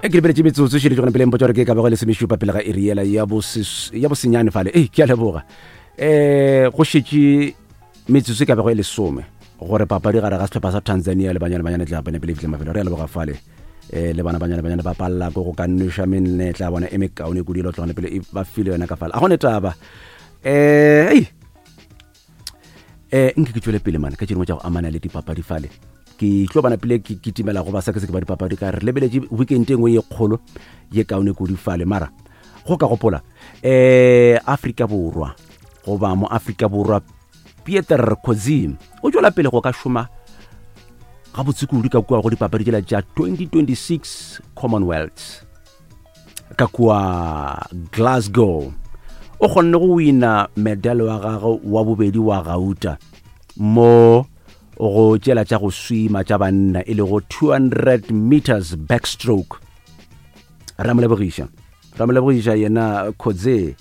E ke lebeletše metsotso šele gona pele mpotša gore ke ka bego lesomešupa pele ga iri yela ya ya bosenyane fale. Ei, ke a leboga. Um go šetše metsotso e ka bego e lesome gore papadi gare ga sehlopha sa Tanzania le Banyana Banyana e tla pene pele e fihle mafelo. Re a leboga fale. Um le bana Banyana Banyana ba palela ko go ka nweša menetla ya bona e mekaone kudu e le tlogane pele e ba file yona ka fale. A gone taba. Um ei eh nke ke tšwele pele mane ka tše dingwe tša go amana le dipapadi fale ke tlo bana pele ke kitimela go ba sa ke se ke ba dipapadi ka re lebeletše weekend e nngwe ye kgolo ye kaone kudu fale mara go ka gopola eh Afrika Borwa goba mo Afrika Borwa Pieter Coetzee o tšwela pele go ka šoma gabotse kudu ka kua go dipapadi tšela tša 2026 Commonwealth ka kua Glasgow o kgonne go wina medal wa gagwe wa bobedi wa gauta mo go tšela tša go swima tša banna e lego 200 meters backstroke. Ra mo lebogiša, ra mo lebogiša yena Coetzee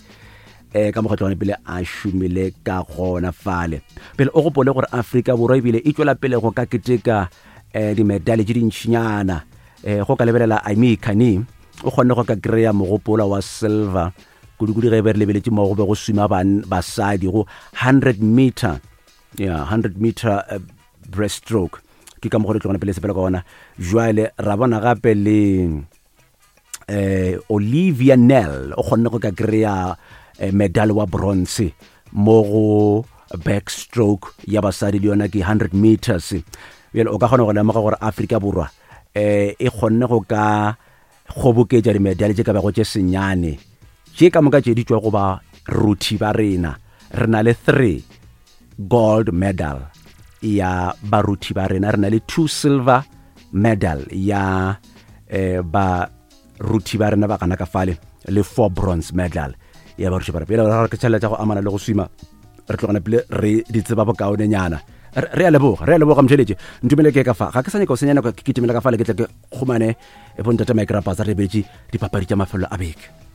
eh ka mokgatlo wa pele a šomile ka gona fale. Pele o gopole gore Afrika Borwa ebile e tšwela pele go ka keteka eh dimedale tše dintšinyana. Eh go ka lebelela Aimee Kani o kgonne go ka kry-a mogopola wa silver kudu-kudu ge e be re lebeletše mo go be go swima basadi go 100 meter, yeah, 100 meter uh, breaststroke. Ke ka mokgwa re tlogana pele sepela ka ona. Jwale ra bona gape le eh Olivia Nell o kgonne go ka kry-a eh, medal wa bronze mo go backstroke ya basadi le yona ke 100 meters. Bjale o ka kgona go lemoga gore Afrika Borwa eh e kgonne go ka kgoboketša dimedale tše ka bago tše senyane tše ka moka tše di tšwa go ba ruthi ba rena. Re na le 3 gold medal ya baruthi ba rena, re na le 2 silver medal ya eh, baruthi ba rena ba gana ka fale, le 4 bronze medal ya baruthi ba rena. Pele re ke tšhelete tša go amana le go swima re tlogana pele re di tseba bokaonenyana. Re a leboga, re a leboga motšheletše. Ntumele ke ka fa ga ke sa nyaka go senya nako, ke kitimela ka fale ke tle ke kgomane e bontate Mike Rapatsa re beetše dipapadi tša mafelo a beke.